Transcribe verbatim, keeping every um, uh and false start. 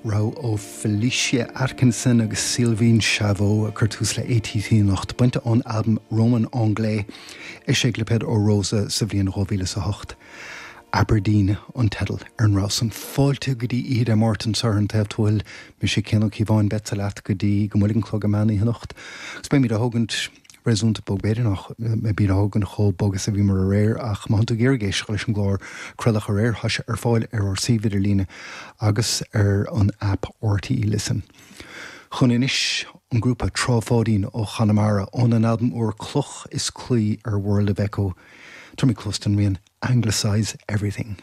Rogha ó Felicia Atkinson agus Sylvain Chavot a chuir tús le ATT anocht bainte ón albam Roman Anglais eisithe le Pedro Rosa sa bhliain dhá mhíle is a hocht. Aberdeen an teideal ar an rogha san. Fáilte go dtí Oíche Dé Máirt anseo ar An Taobh Tuathail, mise Cian Ó Cíobháin beadsa leat go dtí go mbuailfidh an clog an meán oíche anocht. Agus beimid á thógaint réasúnta bog b'fhéidir nach mbeimid á thógaint chomh bog is a bhíomar aréir ach má tá tú ag iarraidh éisteacht leis an gclár craoladh aréir tá sé ar fáil ar ár suíomh idirlíne agus ar an app RTÉ Listen. Chun anois an grúpa Trá Pháidín ó Chonamara óna n-albam úr Cloch is Claí ar World of Echo, Tabharfaimid cluas don rian Anglicise Everything.